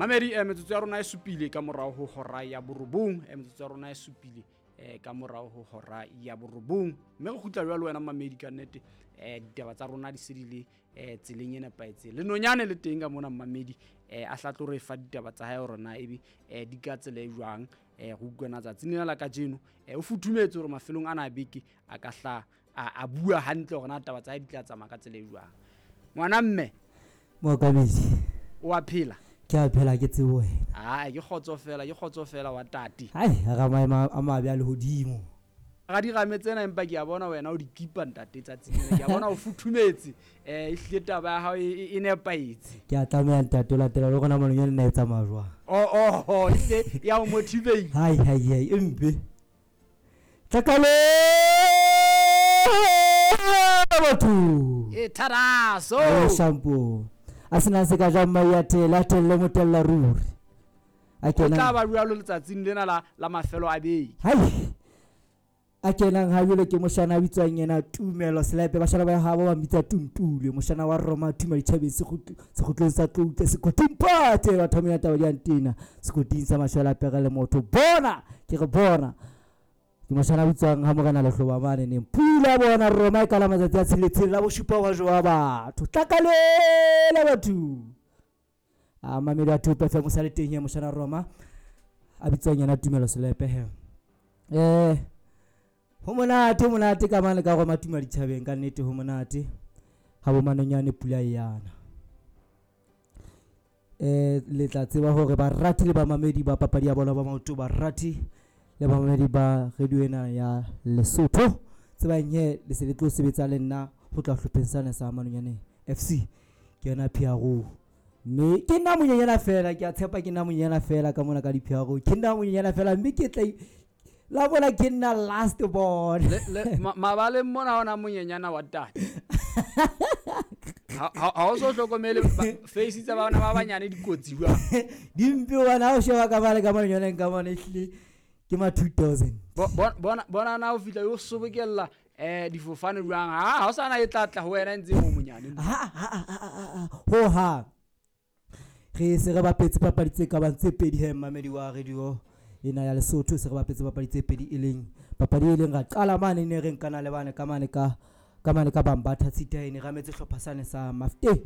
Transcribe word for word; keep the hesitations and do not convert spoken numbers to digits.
Mamedi, eh, metsotso ya rona e supile ka morao ho hora ya borobong. eh, metsotso ya rona e supile eh, ka morao ho hora ya borobong, mme re kgutla jwalo wena mamedi. Ka nnete eh, ditaba tsa rona di se di le eh, tseleng e nepahetseng. Le nonyane le teng ka mona mamedi, eh, a hla tlo re fa ditaba tsa hae hore na ebe eh, di ka tsela e jwang. eh, re utlwana tsatsing lena la kajeno, eh, o futhumetse hore mafelong ana a beke a ka hla a, a bua hantle hore na taba tsa hae di tla tsamaya ka tsela e jwang. Ngwana mme, Mookamedi. O a phela? Ke a phela, ke tsebo wena. Ai, ke kgotso fela, ke kgotso fela wa tate. Hai, ra maemo a mabe a lehodimo. Ga dirame tsena, empa ke a bona wena o di kipa ntate tsatsing lena. Ke a bona o futhumetse, um ehlile taba ya hao e e- e nepahetse. Ke a tlameha ntate o latela le rona manonyane na e tsamaya jwang. Oh, oh, oh, ehlile ya o motivate. Hai hai hai, e mpe tlakale batho. E tharaso. O shampoo a sena se ka jang mai a tele a telle motella ruri a O tla kenang ba jwalo letsatsing lena la la mafelo a beke. Hai, a kenang ha jwale ke moshana a bitswang yena Tumelo Selepe, bashana ba habo ba mmitsa Tuntule, moshana wa Roma Tuma ditjhabeng, sekgutlong sa Tloutla, sekoting pate batho ba taba di antena sekoting sa mashwela pere le motho bona ke re bona ke moshana a bitswang ha Morena Lehloba mane neng pula bona Roma e kala matsatsi a tsheletseng la boshupa wa jowa batho tlakalela batho a mamedi a Thope F M o sa le teng he moshana Roma a bitswang yena Tumelo Selepe he. eh ho monate, ho monate ka mane ka Roma Tuma ditjhabeng, ka nnete ho monate ha bo manonyane pula e yana. eh le tla tseba hore barati le bamamedi ba papadi ya bolo ba maoto, barati le bamamedi ba radio ena ya Lesotho, tsebang he le se le tlo sebetsa le nna ho tla hlopheng sane sa Manonyane F C. Ke yona P R O, mme ke nna monyenyana fela, ke a tshepa ke nna monyenyana fela ka mona ka di-P R O, ke nna monyenyana fela, mme ke tla la bona ke nna last born. Le- le- ma- mabaleng mona ona monyenyana wa tate, ha ha- ha o so hlokomele ba- face tsa bana ba banyane dikotsi jwang? Dimpe hobane ha o sheba ka mane ka manonyaneng ka mane, ehlile ke ma two thousand. Bo- bona- bona bona na o fihla yo sobokella eh difofane jwang, ha ha o sana e tla tla ho wena e ntse mo monyane. Ho hang re se re bapetse papadi tse ka bang tse pedi he mamedi wa radio ena ya Lesotho, se re bapetse papadi tse pedi, e leng papadi e leng ra qala mane ne re nkana le bane ka mane ka ka mane ka Bambatha Tshitaene, re ametse hlopha sane sa Mafte.